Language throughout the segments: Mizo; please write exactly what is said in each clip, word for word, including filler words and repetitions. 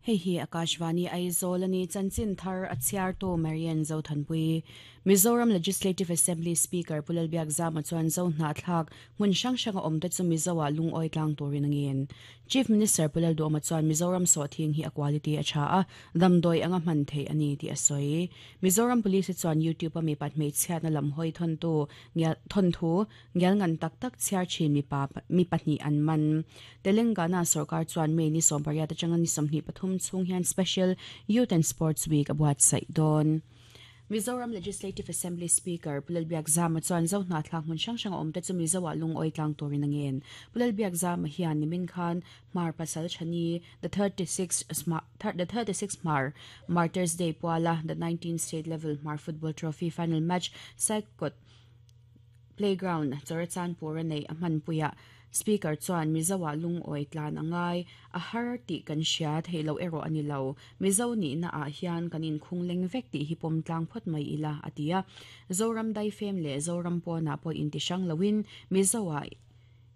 Hei hi Akashvani Aizawl ani chanchin thar a chhiar tu Marian Zothanpui. Mizoram Legislative Assembly Speaker Pu Lalbiakzama chuan zo hnahthlak hmun hrang hranga awm te chu Mizoa lungawi tlang turin a ngen. Chief Minister Pu Lalduhoma chuan Mizoram sawhthing hi a quality a tha a, damdawi anga hman theih a ni tih a sawi. Mizoram Police chuan YouTube a mi pat hmeichhiatna lam hawi thawntu thawnthu ngial ngan tak tak chhiar thin mipa mi pahnih an man. Telangana sarkar chuan May ni sawm pariat atanga ni sawmhnih pathum chung hian Special Youth and Sports Week a buatsaih dawn. Mizoram Legislative Assembly Speaker Pu Lalbiakzama chuan zo hnahthlak hmun hrang hranga awm te chu Mizoa lungawi tlang turin a ngen. Pu Lalbiakzama hian nimin khan Hmar Pasal Thani the thirty-six the thirty-six Hmar Martyrs Day puala the nineteen State Level Hmar Football Trophy Final Match Saikot Playground Churachandpur a nei a hmanpuia. Speaker chuan Mizoa lungawi tlan angai a har tih kan hria theilo erawh ani lo. Mizo ni na ah hian kan inkhung leng vek tih hi pawm tlang phawt mai ila a ti a. Zoram daifem leh Zoram pawnah pawh inti hrang loin Mizoa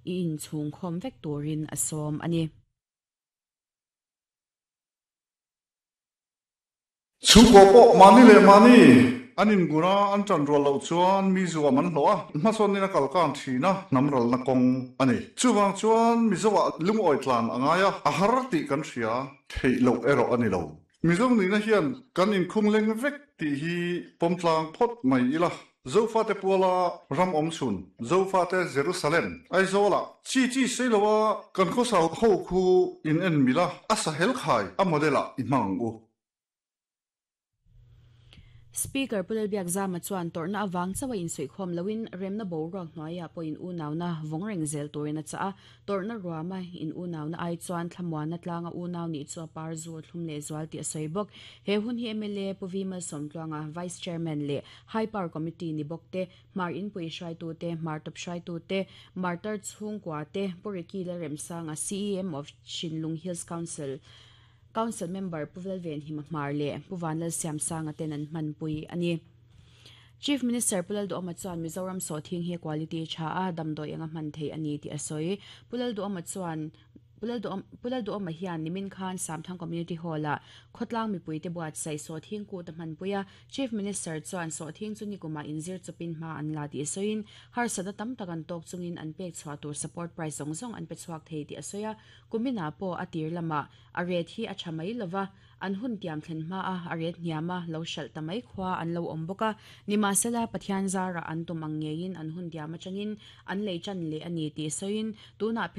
i inchhung khawm vek turin a sawm ani. Chhungkaw pawh mani leh mani an ingura an tan rual loh chuan mi zuam an hlawh a, hmasawn in a kal kang thin a, hnam ralna kawng ani. Chuwang chuan Mizoa lungawi tlan angai a, a har tih kan hria theih loh erawh ani lo. Mizo ni na hian kan inkhung leng vek tih hi pawm tlang phawt mai ila. Zofa te puala ram awm chhun, Zofa te Jerusalem, Aizawl chi chi seiloa kan khawsau ho khu in en mila a sahel khai a model ah i hmang u. Speaker Pu Lalbiakzama chuan torna awang chawa in suikhawm loin remna bo ruak hnuaia pawh in unau vongreng zel turin a cha a, torna ruama in unau na ai chuan thlamuan na tlanga unau ni chu a par zu thlum leh zual tih a sawi bawk. He hun hi M L A Pu V Malsawmtluanga Vice Chairman leh High Power Committee ni bawk te, Hmar Inpui hruaitu te, Hmar Top hruaitu te, Martar Chhungkua te, Pu Ricky Lalremsanga C E M of Shinlung Hills Council Council member Pu Velven Hima Hmar leh Pu Vanlal Siamsanga ten an hmanpui ani. Chief Minister Pu Lalduhoma chuan Mizoram sawhthing hi quality tha a, damdawi anga hman thei ani tih a sawi. Pu Lalduhoma chuan Pu Lalduhoma hian nimin khan Samthang Community Hall ah khawtlang mipui te buatsaih sawhthing kut a hmanpui a. Chief Minister chuan sawhthing chu nikuma inzir chawpin hma an la tih a sawiin harsatna tam tak an tawk chungin an pek chhuah tur support price zawng zawng an pe chhuak thei tih a sawi a. Kumina pawh a tir lama a ret hi a tha mai lova, an hun tiam thlen hma a, a ret hniam a, lo hralh ta mai khua an lo awm bawk a. Nimasela Pathian zara an tum ang ngeiin an hun tiam atangin an lei chan leh ani tih sawiin tunah phei